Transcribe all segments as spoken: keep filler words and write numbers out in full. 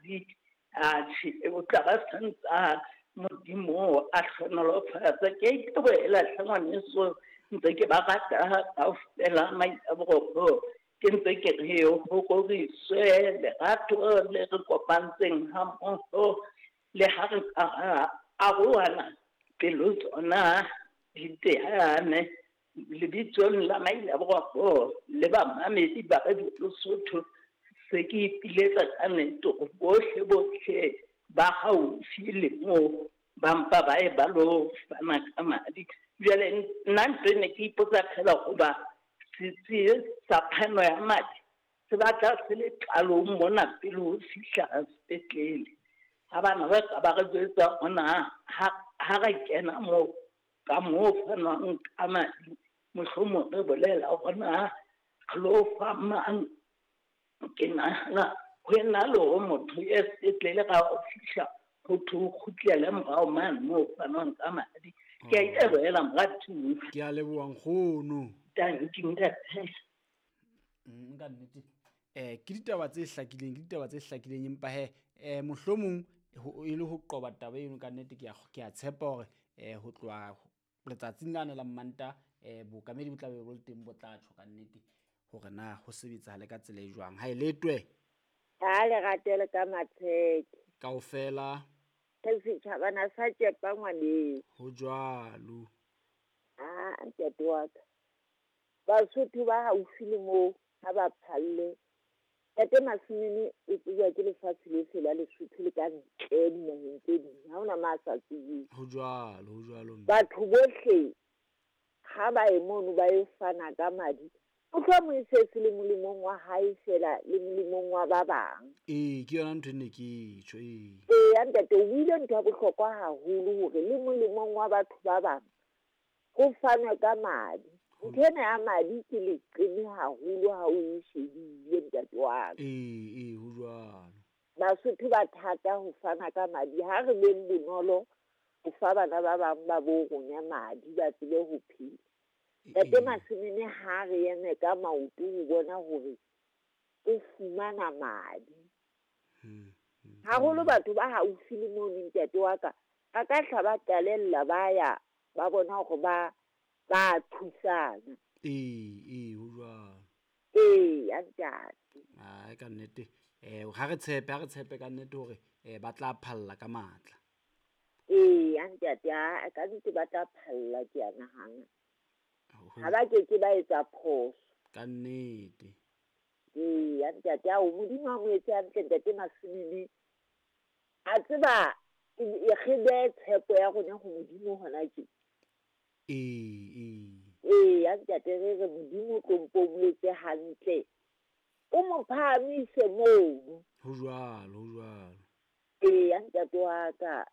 madi. Atjhe, o tla ba santsa Modimo a hlohonolofatsa. Ke a itebohela hle ngwaneso, ntse ke ba rata kaofela Mailaborokgo. Ke ntse ke re ho roriswe lerato le re kopantseng hammoho, le ha re ka arohana pelo tsona di teane. Lebitsong la Mailaborokgo le bamamedi ba Radio Lesotho, se ke ipiletsa ka nnete hore bohle bohle ba haufi le moo ba mpa ba ye ba lo fana ka madi. Jwale nna ntho e ne ke ipotsa feela hoba setsi sa phano ya madi se batla se le qalong mona pele ho fihla sepetlele. Ha bana ba ka ba re jwetsa hona ha, ha re kena moo ka moo fanwang ka madi, mohlomong re bolela hona re lo fa mang. Ke nahana ho ena le hore motho ye sepetlele ga o fihla ho thwe o kgutlele morao mane moo fanwang ka madi. Ke a itebohela moratuwa. Ke a leboha nkgono. Tanki ntate. Mm, ka nnete. Eh, ke ditaba tse hlakileng, ke ditaba tse hlakileng, empa he, eh, mohlomong ho, e le ho qoba taba eno ka nnete, ke a, ke a tshepa hore, eh, ho tloha letsatsing lane la Mmantaha, eh, bookamedi bo tla be bo le teng, bo tla tjho ka nnete hore na ho sebetsahale ka tsela e jwang. Ha e letwe. Ha le ratele ka matsheke. Kaofela. Re setjhabana sa tšepa ngwaneng. Ho jwalo. Ah, ntate wa ka. Basotho ba haufi le moo ha ba phalle. Ntate Masimene o tsejwa ke lefatshe lohle la Lesotho le ka ntle dinaheng tse ding. Ha hona ma sa tsebeng. Ho jwalo, ho jwalo mme. Batho bohle ha ba ye mono ba yo fana ka madi, mohlomong e se se le molemong wa hae feela le molemong wa ba bang. Ee, ke yona ntho e ne ke tjho, ee. Ee, ntate, o buile ntho ya bohlokwa haholo hore le molemong wa batho ba bang ho fanwe ka madi. Ntho ena ya madi ke leqeme haholo ha o e shebile, ntate wa ka. Ee, ee, ho jwalo. Basotho ba thata ho fana ka madi. Ha re beng bonolo ho fa bana ba bang ba bo rona madi ba tsebe ho phela. Ntate Masimene ha re eme ka maoto ho bona hore o fumana madi. Haholo batho ba haufi le mono, ntate wa ka, ba ka hla ba qalella ba ya ba bona hore ba, ba thusana. Ee, ee, ho jwalo. Ee, ya ntate. Ai, ka nnete. Eh, ha re tshepe, ha re tshepe ka nnete hore, eh, ba tla phalla ka matla. Ee, ya ntate, ha, ka nnete ba tla phalla, ke a nahana. Ha ba ke ke ba etsa phoso. Ka nnete. Ee, ya ntate, ao, Modimo a mo etse hantle, ntate Masimene. A tseba, e re behe tshepo ya rona ho Modimo hona tje. Ee, ee. Ee, ya ntate, re re Modimo tlo mpo mo etse hantle. O mo phahamise mono. Ho jwalo, ho jwalo. Ee, ya ntate wa ka.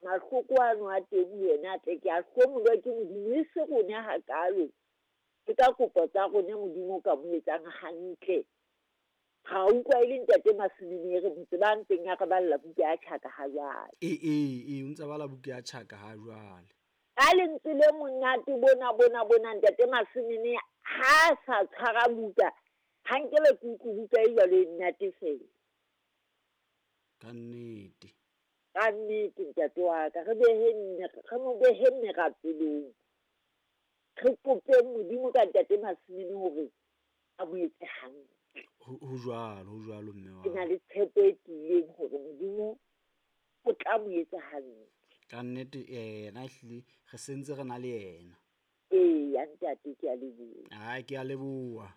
Mahloko ano a teng ho yena a tle ke a hlomolwa ke Modimo, e se rona hakalo. Ke ka kopo tsa rona Modimo o ka mo etsang hantle. Ga utlwa e le ntate Masimene re mo tseba ntseng a re balla buka ya Tjhaka ha jwale. Ee, ee, ee, o ntse bala buka ya Tjhaka ha jwale. Ka lentswe le monate bona, bona, bona, ntate Masimene ha sa tshwara buka, ha nkebe ke utlwe buka e jwalo e nnate fela. Ka nnete. Ka nnete, ntate wa ka, re behe nne, re mo behe merapelong. Re kope Modimo ka ntate Masimene hore a mo etse hantle. Ho, ho jwalo, ho jwalo mme wa Ke na le tshepo e tiileng hore Modimo o tla mo etsa hantle. Ka nnete, eh, yena ehlile re sentse re na le yena. Ee, ya ntate, ke a leboha. Ai, ke a leboha.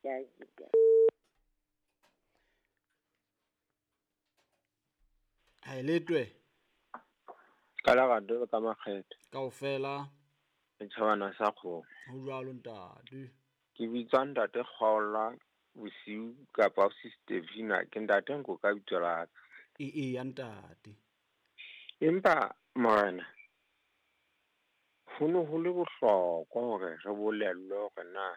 Ke a Ha letwe. Ka lerato le ka makgethe. Kaofela. Setjhabana sa kgomo. Ho jwalo ntate. Ke bitswa ntate Kgaola bosiu kapa Sister Vina, ke ntate nko ka bitso la ka. Ee, ee, ya ntate. Empa morena, ho ne ho le bohlokwa hore re bolellwe hore na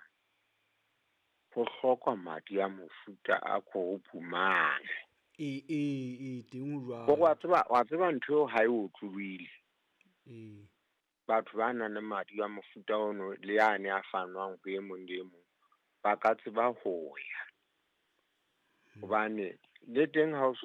ho hlokwa madi a mofuta a group mang. Ee, ee, ee, teng ho jwalo. Hore wa tseba, wa tseba ntho eo ha e otlolohile. Ee. Batho ba nang le madi a mofuta ono le yane a fanwang ho e mong le e mong, ba ka tseba ho ya. Hobane le teng ha o so